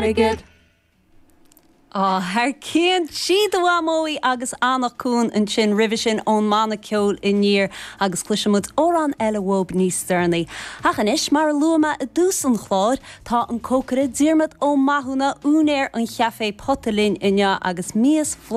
airgead. Á, thar cionn! Sí do Mhamó í agus Anach Cuain ansin roimhe sin ón mbanna ceoil Aniar agus cloisfidh muid amhrán eile uathub níos deireanaí. Ach anois, mar a luaigh mé i dtús an chláir, tá an cócaire Diarmaid Ó Mathúna, úinéir an chaifé Pota linn inniu agus mias bhlasta.